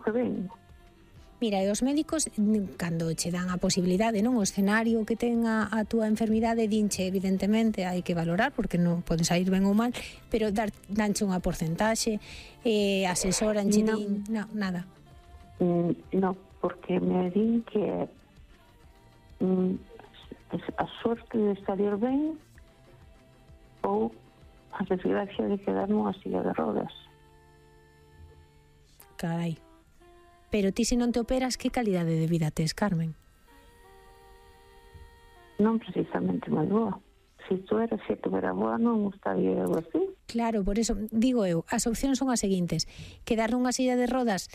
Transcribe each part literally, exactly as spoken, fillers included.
que ven. Mira, e os médicos, cando che dan a posibilidade, non, o escenario que ten a, a túa enfermidade, dinche, evidentemente, hai que valorar, porque non pode sair ben ou mal, pero dar, danche unha porcentaxe, eh, asesoranche, No. din, no, nada. Mm, no, porque me din que mm, a sorte de salir ben ou a desgracia de quedar nunha silla de rodas. Carai. Pero ti, se non te operas, que calidade de vida tes, Carmen? Non precisamente moi boa. Se tu era, se tu era boa, non estaría algo así. Claro, por eso, digo eu, as opcións son as seguintes. Quedar nunha silla de rodas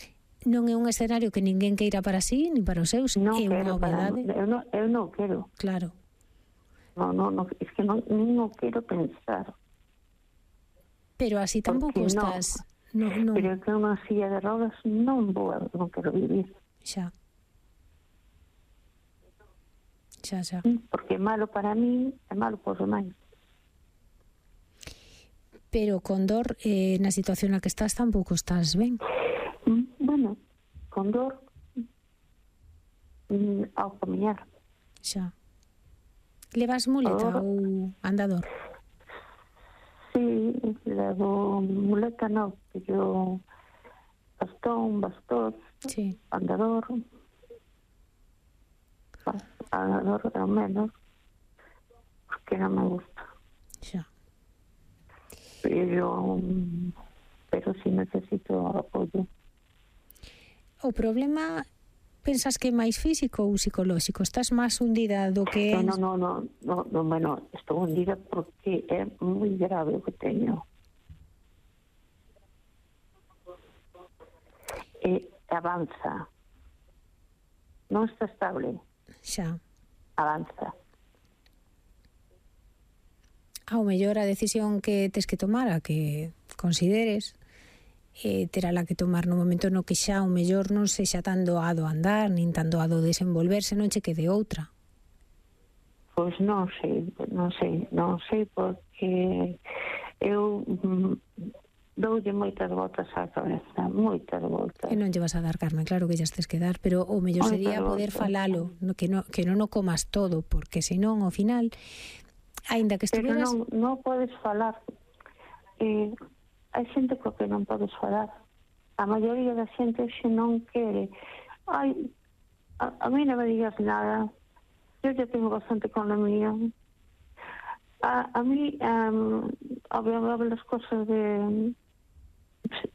non é un escenario que ninguén queira para sí, ni para os seus, Non é unha quero para... obviedade. Eu non, eu non quero. Claro. No, no, no, es que non, non quero pensar. Pero así tampouco Porque no. estás... No, no. Pero que unha silla de rodas non vou, non quero vivir. Xa. Xa, xa. Porque é malo para mí, é malo para os demais. Pero con dor, eh, na situación na que estás, tampouco estás ben. Bueno, con dor mm, ao camiñar. Xa. Levas muleta Ahora, ou andador? Sí, levo muleta no, que yo bastón, bastón, sí. Andador, andador ao menos, porque non me gusta. Xa. Pero, pero sí necesito apoyo. O problema, pensas que é máis físico ou psicolóxico? Estás máis hundida do que... No, no, no, no, no, bueno, estou hundida porque é moi grave o que teño. E avanza. Non está estable. Xa. Avanza. Ao mellor a decisión que tes que tomar, a que consideres, eh, terá la que tomar no momento no que xa o mellor non sexa tan doado andar, nin tan doado desenvolverse, non che quede outra. Pois non sei, non sei, non sei porque eu mm, doulle moitas voltas á cabeza, moitas voltas. E non lle vas a dar, Carmen, claro que xa tes que dar, pero o mellor sería poder falalo, no, que, no, que non o comas todo, porque senón ao final, aínda que estuveras... Pero non, non podes falar. Eh, hai xente co que non podes falar. A maioría da xente xe non quere. Ai, a, a mí non me digas nada. Eu ya tengo bastante con la mía. A, a mí, um, hablo las cosas de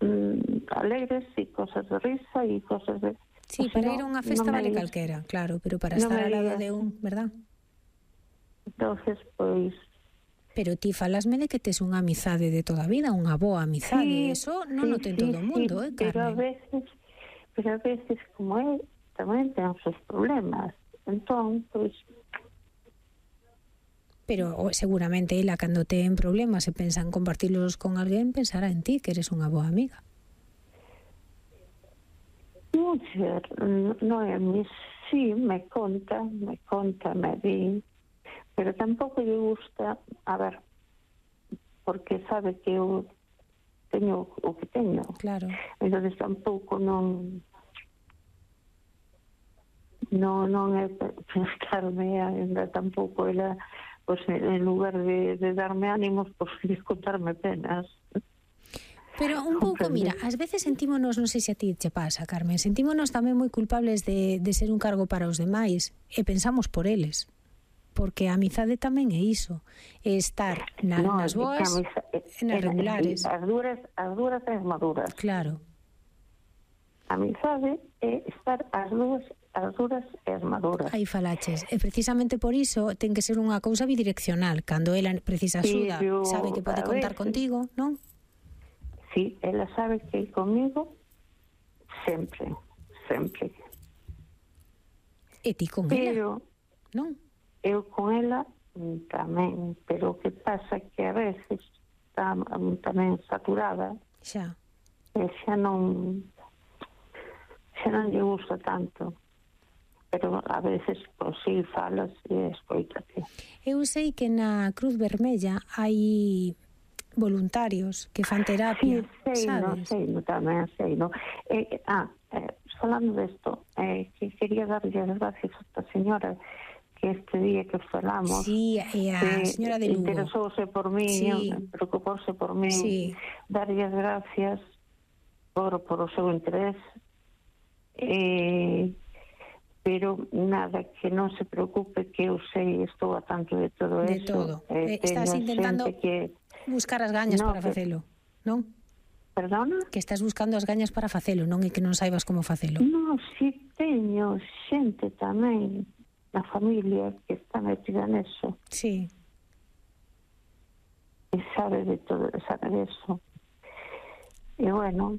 um, alegres y cosas de risa y cosas de... Sí, o sea, para ir a unha festa no vale digas, calquera, claro, pero para no estar ao lado de un, verdad? Entonces, pois... Pero ti falasme de que tes unha amizade de toda a vida, unha boa amizade, sí, eso non sí, o ten sí, todo o mundo, sí, eh, Carmen? Pero a veces, pero a veces, como é, tamén ten os seus problemas. Entón, pois... Pero seguramente ela, cando ten problemas e pensa en compartirlos con alguén, pensará en ti, que eres unha boa amiga. Non sei, non é mi... Sí, me conta, me conta, me di... Pero tampouco lle gusta, a ver, porque sabe que eu teño o que teño. Claro. Entón tampouco non non, non é prestarme ainda tampouco ela, pois, en lugar de, de darme ánimos, pois, de contarme penas. Pero un pouco, mira, ás veces sentímonos, non sei se a ti che pasa, Carmen, sentímonos tamén moi culpables de, de ser un cargo para os demais e pensamos por eles. Porque a amizade tamén é iso, é estar na, no, nas boas e nas regulares. As duras, as duras e as maduras. Claro. A amizade é estar as duras, as duras e as maduras. Aí falaches, e precisamente por iso ten que ser unha cousa bidireccional. Cando ela precisa axuda, sí, yo, sabe que pode contar ver, contigo, non? Sí, ela sabe que comigo sempre, sempre. E ti con Pero, ela, non? Eu con ela tamén, pero o que pasa que a veces está tamén saturada. Xa. E xa non xa non lle gusta tanto. Pero a veces, pois, sí, falas e escoítate. Eu sei que na Cruz Vermella hai voluntarios que fan terapia, sí, sei, sabes? No, sei, no, tamén sei, no. Eh, ah, eh, falando desto, eh, que quería darlle as gracias a esta señora que este día que falamos, Sí, e a que señora de Lugo. interesouse por mí, Sí. preocupouse por mí, Sí. darlle as gracias por, por o seu interés, eh, pero nada, que non se preocupe, que eu sei, estou a tanto de todo De eso. todo. Eh, estás intentando que buscar as gañas no, para que... facelo, non? Perdona? Que estás buscando as gañas para facelo, non é que non saibas como facelo. Non, si teño xente tamén na familia que está metida neso. Sí. E sabe de todo, sabe de eso. E bueno,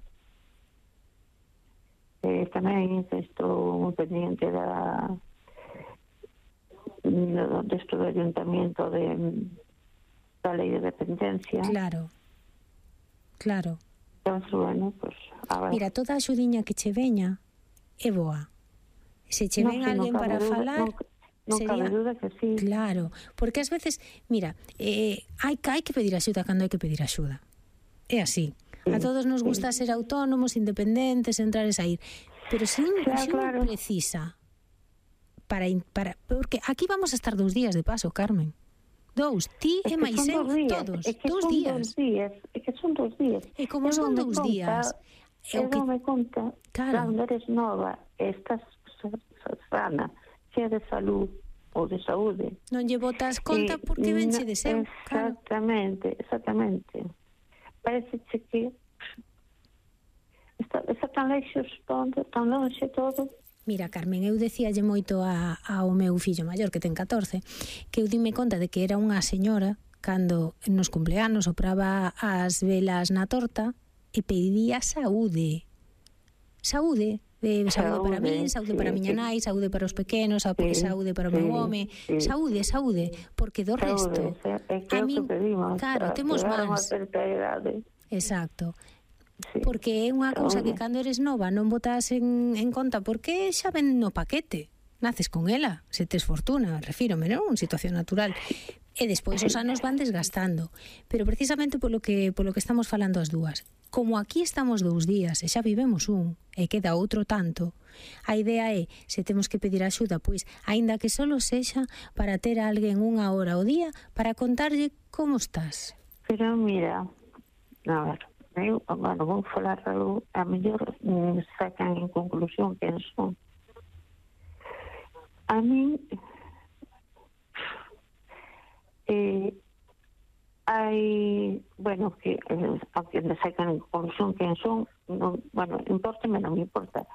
eh, tamén estou moi pendiente da desto do ayuntamiento de da lei de dependencia. Claro. Claro. Entón, bueno, pues, a ver. Mira, toda a xudiña que che veña é boa. Se che ven no, alguén no para duda, falar, non, non sería... cabe duda que sí. Claro, porque ás veces, mira, eh, hai, hai que pedir axuda cando hai que pedir axuda. É así. Sí, a todos nos sí. gusta ser autónomos, independentes, entrar e sair. Pero se un, Claro, se un claro. precisa para, para... Porque aquí vamos a estar dous días de paso, Carmen. Dous, ti É e que máis son eu, dous días, todos, é que dous son días. dous días, é que son dous días. E como Eu son dome dous conta, días, é eu o que... dome conta, Claro. cando eres nova, estás sana, chea de salud ou de saúde. Non lle botas conta Eh, porque venche no, de seu, claro. Exactamente, exactamente. Parece que está, está tan lexos todo, tan longe todo. Mira, Carmen, eu decíalle moito a, ao meu fillo maior, que ten catorce, que eu dime conta de que era unha señora cando nos cumpleanos sopraba as velas na torta e pedía saúde. Saúde. Eh, saúde, saúde para min, saúde sí, para a miña sí. nai, saúde para os pequenos, sí, saúde para o meu home, sí. saúde, saúde, porque do saúde, resto é que a min, pedimos, claro, temos mans. Exacto. Sí. Porque é unha cousa que cando eres nova non botas en, en conta porque xa ven no paquete, naces con ela, se tes fortuna, refírome, non? Unha situación natural. E despois os anos van desgastando. Pero precisamente polo que polo que estamos falando as dúas, como aquí estamos dous días e xa vivemos un e queda outro tanto, a idea é, se temos que pedir axuda, pois, aínda que solo sexa para ter a alguén unha hora ao día para contarlle como estás. Pero mira, a ver, eu, bueno, vou falar algo, a mellor mm, sacan en conclusión quen son. A mí eh, hai, bueno, que eh, aunque me sacan en conclusión quen son, non, bueno, importame, non me importa.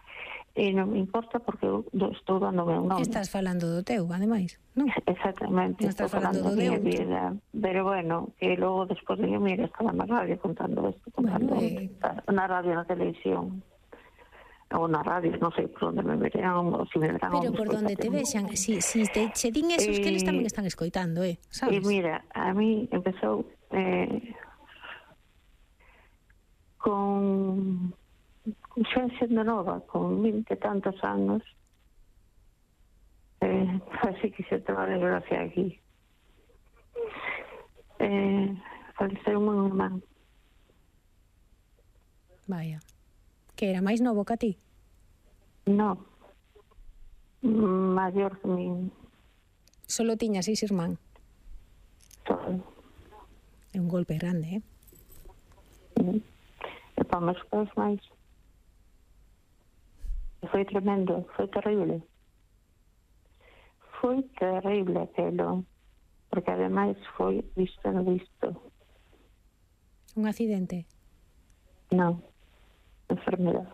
E non me importa porque eu estou dando meu nome. Estás falando do teu, ademais, non? Exactamente. Non estás falando do teu. Vida. Pero bueno, que logo despois de mira, estaba na radio contando isto, contando bueno, eh... na radio, na televisión, ou na radio, non sei por onde me verán, ou si me verán. Pero por onde te vexan, si, si te che din esos eh, que eles tamén están escoitando, eh, sabes? E mira, a mí empezou eh, con... xa sendo nova, con vinte e tantos anos, eh, así que se toma desgracia aquí. Eh, faleceu un irmán. Vaya. Que era máis novo que a ti? No. Maior que mi. Solo tiña seis irmán? Solo. É un golpe grande, eh? Mm. E para meus pais máis. Foi tremendo, foi terrible. Foi terrible aquelo, porque ademais foi visto no visto. Un accidente? Non, enfermedade.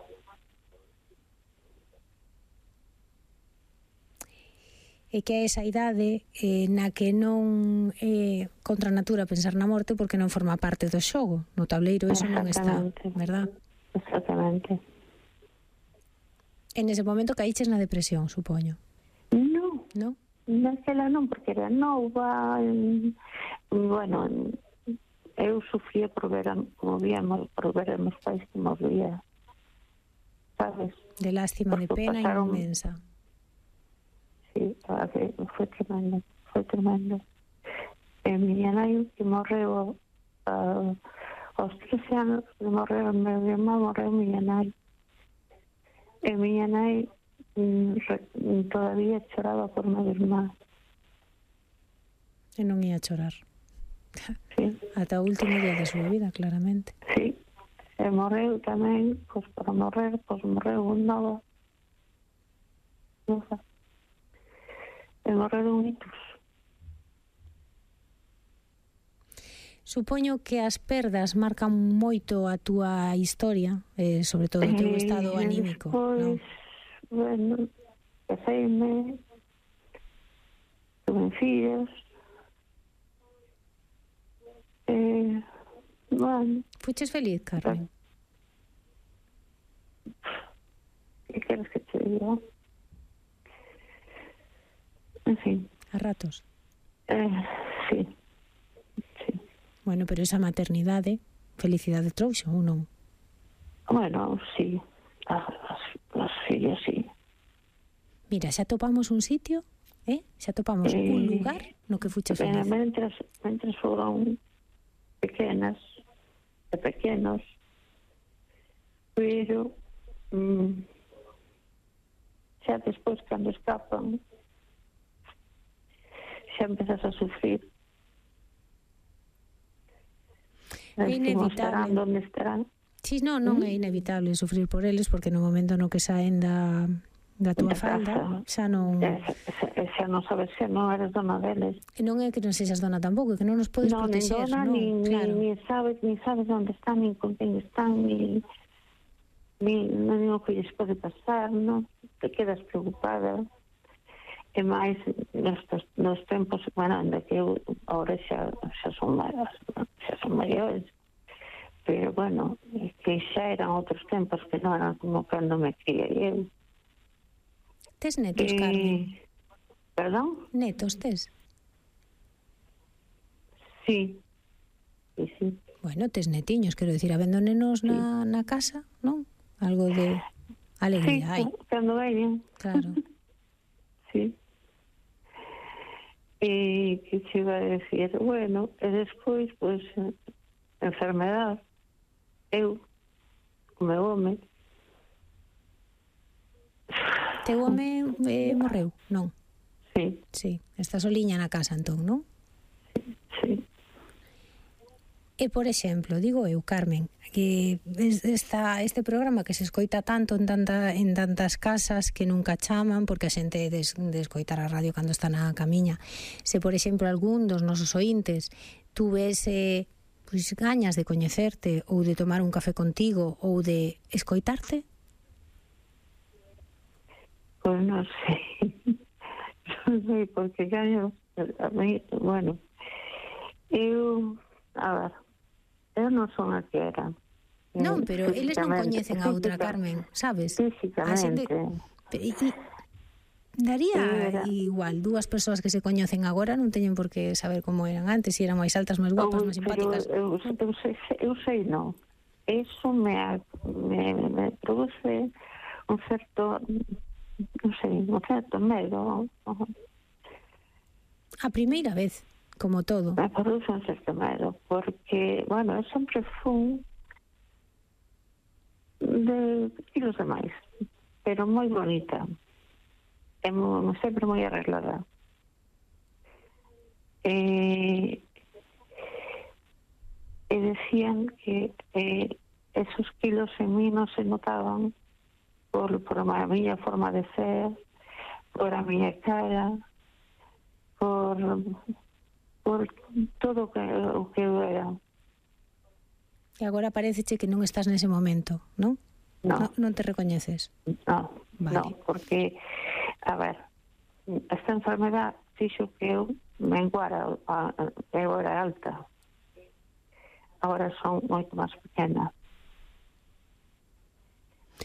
E que é esa idade eh, na que non é eh, contra a natura pensar na morte porque non forma parte do xogo. No tableiro eso non está, verdad? Exactamente. En ese momento caíches na depresión, supoño. Non. Non? Naquela non, porque era nova. En, bueno, eu sufría por ver, como víamos, por ver a meus pais que moría. Sabes? De lástima, porque de pena pasaron... inmensa. Sí, foi tremendo, foi tremendo. E miña nai que morreu a, aos trece anos de morrer o meu irmão, morreu miña nai. E miña nai mm, re, todavía choraba por meu irmán. E non ia chorar. Sí. Ata o último día da súa vida, claramente. Sí. E morreu tamén, pois para morrer, pois morreu un novo. Nova. E morreu un ictus. Supoño que as perdas marcan moito a túa historia, eh, sobre todo o teu estado E anímico, despois, non? bueno, caseime, tuve fillos, e, bueno... Fuches feliz, Carmen? Que queres que te diga? En fin. A ratos? Eh, sí. Sí. Bueno, pero esa maternidade, felicidade trouxo ou non? Bueno, sí. As, as fillas, sí. Mira, xa topamos un sitio, eh? Xa topamos Eh, un lugar no que fuches eh, feliz. Mentras, mentras foron pequenas e pequenos, pero mm, xa despois, cando escapan, xa empezas a sufrir. É inevitable. Estarán donde estarán. Si, non, non é inevitable sufrir por eles, porque no momento no que saen da, da túa Da falda, casa. xa non... E, xa, xa non sabes, xa non eres dona deles. E non é que non sexas dona tampouco, é que non nos podes Non, nin protexer, dona, non? nin, Claro. nin, sabes, nin sabes onde están, nin con quen están, nin, nin, nin o que lles pode pasar, non? Te quedas preocupada. E máis nestes, nos tempos, bueno, onde que eu ahora xa, xa son maiores, xa son maiores, pero bueno, que xa eran outros tempos que non eran como cando me criei eu. Tes netos, E, Carmen? perdón? Netos tes? Sí, sí, sí. Bueno, tes netiños, quero dicir, habendo nenos na, na casa, non? Algo de alegría hai. Sí, cando veñen. Claro. Sí. E que che iba a decir, bueno, e despois, pois, pues, enfermedade. Eu, o meu home. Teu home eh, morreu, non? Sí. Sí, está soliña na casa, entón, non? Sí. E, por exemplo, digo eu, Carmen, que esta, este programa que se escoita tanto en, tanta, en tantas casas que nunca chaman, porque a xente des, de escoitar a radio cando está na camiña, se, por exemplo, algún dos nosos ointes tuvese pois, gañas de coñecerte ou de tomar un café contigo ou de escoitarte? Pois non sei. Non sei, porque gaño, a mí, bueno, eu, a ver, eu non son a que era. Non, pero eles non coñecen a outra, Carmen, sabes? Físicamente. E, e, daría era... igual, dúas persoas que se coñecen agora non teñen por que saber como eran antes, se eran máis altas, máis guapas, máis simpáticas. Eu, eu, eu, sei, eu sei, non. Eso me, me, me produce un certo, non sei, un certo medo. A primeira vez, como todo. Me produce un certo medo, porque, bueno, eu sempre fun de kilos de máis, pero moi bonita, e mo, sempre moi arreglada. E, e decían que eh, esos kilos en mí non se notaban por, por a miña forma de ser, por a miña cara, por, por todo o que, o que eu era. E agora paréceche que non estás nese momento, non? No. Non, non te recoñeces? No, vale. No, porque, a ver, esta enfermedad fixo que eu menguara, eu era alta. Agora son moito máis pequena.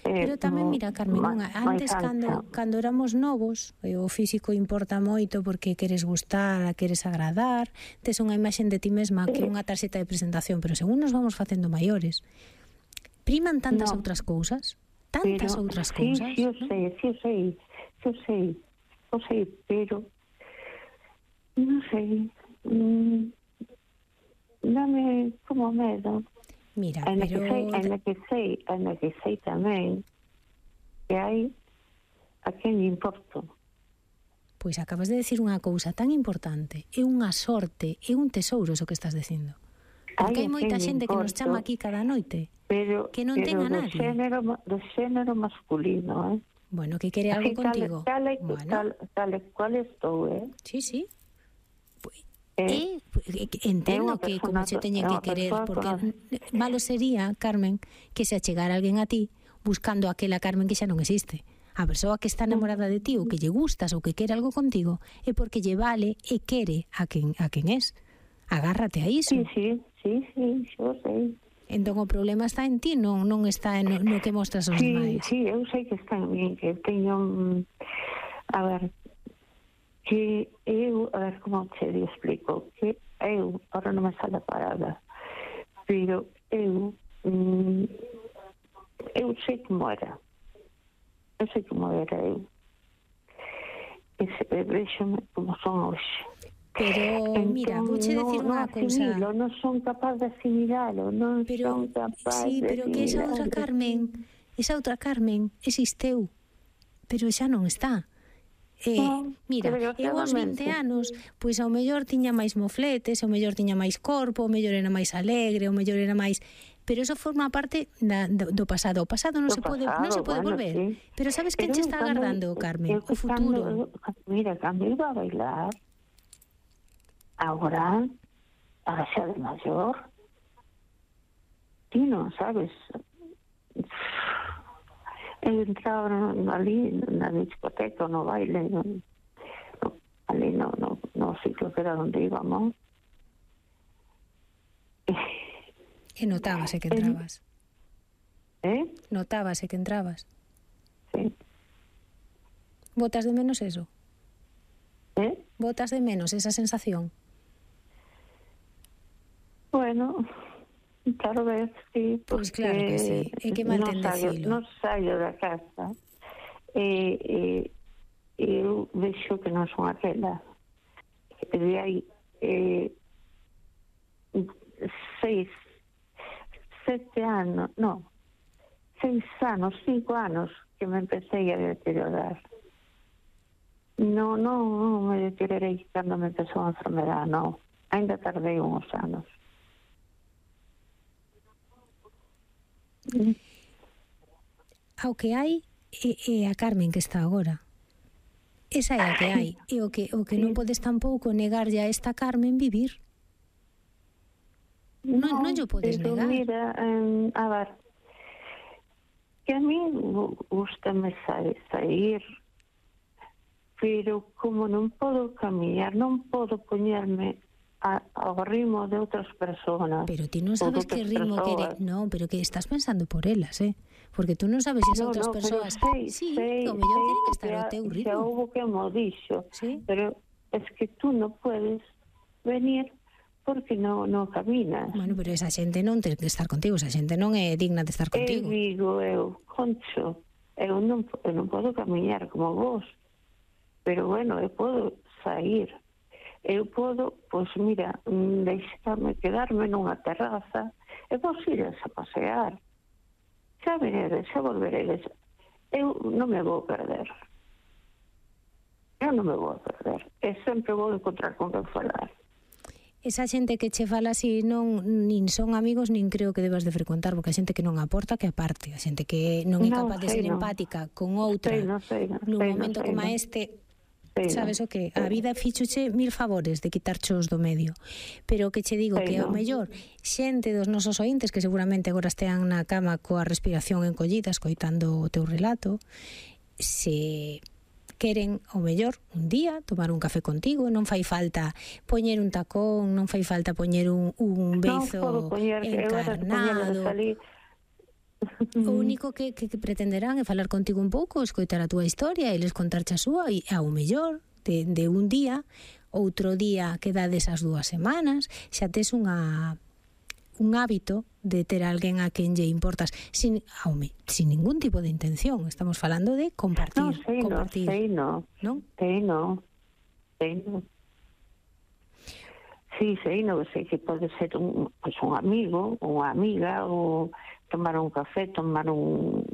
Pero tamén, mira, Carmen, unha, antes cando, cando éramos novos, o físico importa moito porque queres gustar, queres agradar, tes unha imaxen de ti mesma que unha tarxeta de presentación, pero según nos vamos facendo maiores, priman tantas no. outras cousas, tantas pero, outras sí, cousas. Sí, eu sei, sí, eu sei, sí, eu sei, eu sei, pero non sei, mm, dame como medo. Mira, Ainda pero... que sei, ainda que sei, ainda que sei tamén que hai a quen lle importo. Pois acabas de decir unha cousa tan importante. É unha sorte, é un tesouro o que estás dicindo. Porque hai moita xente que nos chama aquí cada noite pero, que non ten a do nadie. Xénero, do xénero masculino, eh? Bueno, que quere algo así, contigo. Tal, tal, bueno. tal, tal cual estou, eh? Sí, sí. Pues, eh, eh, entendo que como se teñen que querer, porque que... malo sería, Carmen, que se achegara alguén a ti buscando aquela Carmen que xa non existe. A persoa que está enamorada de ti ou que lle gustas ou que quere algo contigo é porque lle vale e quere a quen, a quen es. Agárrate a iso. Sí, sí, sí, sí, xo sei. Entón o problema está en ti, non non está en no, no que mostras aos sí, demais. Sí, eu sei que está en mí, que teño... A ver, que eu... A ver, como te explico? Que eu, ahora non me sale a palabra, pero eu... Mm, eu sei como era. Eu sei como era eu. E se vexame como son hoxe. Pero, entón, mira, vouche decir no, unha no cousa. Non son capaz de asimilalo, non pero, son capaz sí, de pero que esa outra Carmen, esa outra Carmen existeu, pero xa non está. Eh, no, mira, eu aos vinte anos, pois ao mellor tiña máis mofletes, ao mellor tiña máis corpo, ao mellor era máis alegre, ao mellor era máis... Pero eso forma parte da, do, do pasado. O pasado non se pode non se pode bueno, volver. Sí. Pero sabes que che está agardando, Carmen? O futuro. Cando, mira, cando iba a bailar, agora, a xa de maior, ti non sabes... Eu entraba ali na discoteca, no baile, no, no, ali no, no, no sitio que era onde íbamos. E notábase que entrabas. Eh? Notábase que entrabas. Sí. Botas de menos eso? Eh? Botas de menos esa sensación? Bueno... Claro, ves, sí. Pois claro que sí. É que mal ten decilo. Non saio da casa. E, e, eu vexo que non son aquela. E de aí eh, seis, sete anos, non, seis anos, cinco anos que me empecé a deteriorar. Non, non, non me deteriorei cando me empezou a enfermedade, non. Ainda tardei uns anos. Ao que hai é, é a Carmen que está agora. Esa é a que hai. E o que, o que non podes tampouco negarlle a esta Carmen vivir. Non, non, non yo podes negar. Mira, um, a ver, que a mí gustame sair, pero como non podo camiñar, non podo poñerme A, ao ritmo de outras persoas. Pero ti non sabes que ritmo quere... Non, pero que estás pensando por elas, eh? Porque tú non sabes se esas no, outras no, persoas... Sei, sí, sei, o mellor sei, queren estar ao teu ritmo. Xa houve que mo dixo. Sí? Pero es que tú non puedes venir porque non, non caminas. Bueno, pero esa xente non ten que estar contigo, esa xente non é digna de estar contigo. Eu digo, eu, Concho, eu non, eu non podo camiñar como vos, pero bueno, eu podo sair. Eu podo, pois mira, deixarme quedarme nunha terraza e vos ires a pasear. Xa veredes, xa volveredes. Eu non me vou perder. Eu non me vou perder. E sempre vou encontrar con quen falar. Esa xente que che fala así non nin son amigos nin creo que debas de frecuentar, porque a xente que non aporta que aparte, a xente que non é capaz no, de ser no. empática con outra sei, no, sei, no, nun sei, momento no, como no. este. Sabes o que? A vida fíxoche mil favores de quitarchos do medio. Pero que che digo que ao mellor xente dos nosos ointes que seguramente agora estean na cama coa respiración encollida escoitando o teu relato, se queren ao mellor un día tomar un café contigo, non fai falta poñer un tacón, non fai falta poñer un, un beizo non poñer, encarnado. O único que, que, que pretenderán é falar contigo un pouco, escoitar a túa historia e les contarche a súa e ao mellor de, de un día, outro día que dades as dúas semanas, xa tes unha un hábito de ter alguén a quen lle importas sin, aume, sin ningún tipo de intención. Estamos falando de compartir. No, sei compartir, no, sei no. ¿no? Sei no. Sei no. Sí, sei, non sei que pode ser un, pues un amigo, unha amiga, ou tomar un café, tomar un,